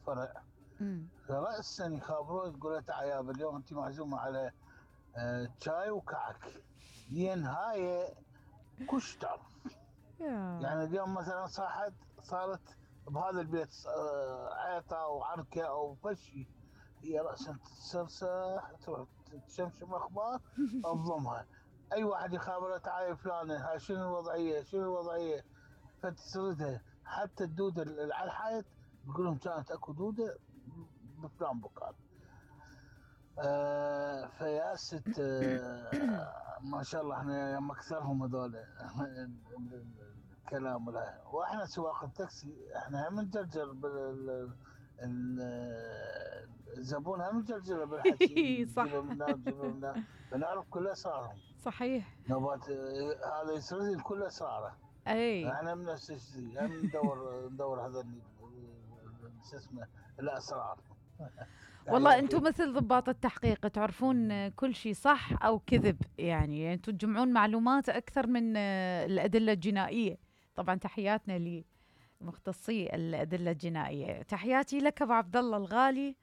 فرع. رأسا يخابرون يقول تعال يابا اليوم انت معزومه على شاي وكعك، هاي كشتر. يعني اليوم مثلا صارت بهذا البيت عيطه وعركه او فشي، هي رأسا تتسرسح تروح تشمشم اخبار تضمها. اي واحد يخابره تعال فلانه هاي شنو الوضعيه فتسردها. حتى الدوده اللي على الحائط يقول لهم كانت اكو دوده بفلان مكان. فياست ما شاء الله احنا يوم اكثرهم هذول الكلام واحنا سواق التاكسي احنا هم نجرجر الزبون هم نجرجره بالحكي صح. نجيبه منا فنعرف كل اسرارهم. صحيح. نوبات هذا يسرد كل اسراره. اي احنا من نفس الشيء هم ندور هذا شو اسمه الاسرار. والله انتم مثل ضباط التحقيق تعرفون كل شيء صح او كذب، يعني انتم تجمعون معلومات اكثر من الادله الجنائيه. طبعا تحياتنا لمختصي الادله الجنائيه. تحياتي لك ابو عبد الله الغالي.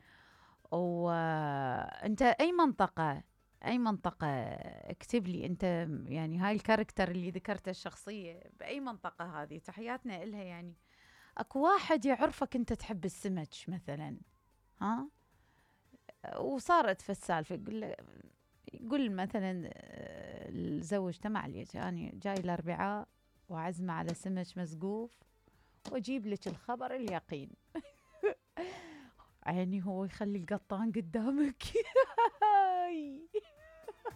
وانت اي منطقه اكتب لي انت، يعني هاي الكاركتر اللي ذكرته الشخصيه باي منطقه هذه؟ تحياتنا إلها. يعني اكو واحد يعرفك انت تحب السمك مثلا، ها، وصارت في السالفه يقول مثلا زوجته معليش يعني جاي الاربعاء وعزمه على سمك مسقوف واجيب لك الخبر اليقين. عيني هو يخلي القطان قدامك